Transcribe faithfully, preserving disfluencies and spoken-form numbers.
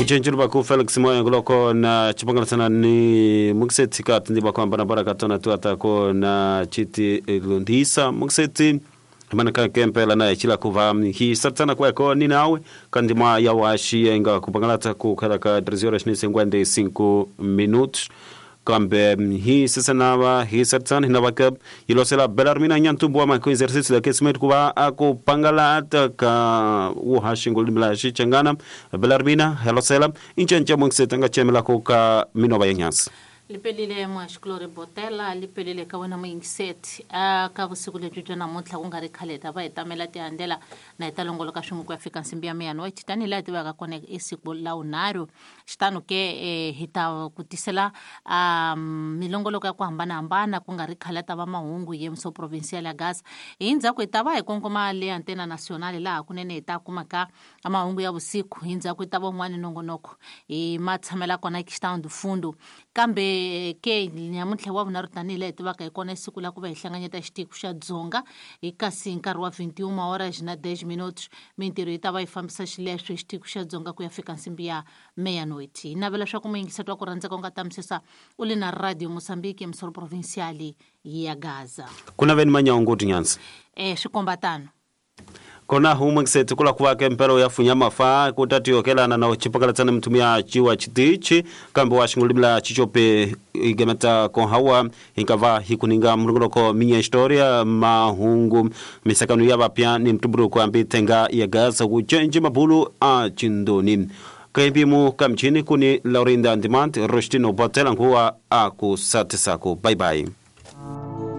Ujenjulu baku Felix Moya nguloko na chipangalasana ni mukseti ka tindi baku ambana baraka tona tuata ko na chiti lundisa mukseti mana ka kempela na chila kuva hi satana kwa ko ni nawe kandima ya washi enga kupangalata ku khala ka treze horas e cinquenta e cinco minutos kambe hi sesanava hi satana hinavaka ilosela Belarmina nyantumbu ma ko exercício de aquecimento kuva akupangalata ka uhashi ngulumla shichangana Belarmina helosela inchenche mungsetanga chemela ko ka minova yanyansa lipelile mwashikulori botela lipelile ka wena moyingiseti a ka vusiku lebyi bya namuntlha ku nga ri khale ta va hi tamela tihandlela na hi ta longoloka swin'we ku ya fika nsimbi ya meyanoiti tanihi laha hi tivaka kona i siku la vunharhu xitano ke eh, hi ta ku tisela um, milongoloko ya ku hambanahambana ku nga ri khale ta va mahungu hi emso provincial ya Gaza hi ndzhaku hi ta va hi kongoma le antena nationale laha kunene hi ta kumaka mahungu ya vusiku hi ndzhaku hi ta va un'wana nongonoko hi ma tshamela kona xitano dufundo kambe ke nyamuntlha wa vunharhu tanihi laha hi tivaka hi kona siku la ku va hi hlanganyeta xitiko xa Dzonga hi kasi hi nkarhi wa vinte e uma horas na dez minutos mintirho yi ta va yi fambisa xileswo hi xitiko xa Dzonga ku ya fika nsimbi ya meia-noite hi navela leswaku muyingiseti wa ku rhandzeka u nga tamisisa u le na Radio Mozambique emisoro provincial ya Gaza kuna veni manyaunguti nyanza eh swi komba tano kona humwe kiseti kula kuwake mpelo ya funya mafa kutatiyokelana na uchipakalatsana mtumia chiwa chitichi kambe washingulibla chichope igemeta konhawa inkava hikuninga mlunguloko minya historia mahungu misakano ya vapya ni mtuburu kwa tenga ya Gaza kuchenji mabulu a chindoni kaimbimu kamchini kuni Laurinda Ndimant Rostino Botela nkuwa akusatisako. Bye bye.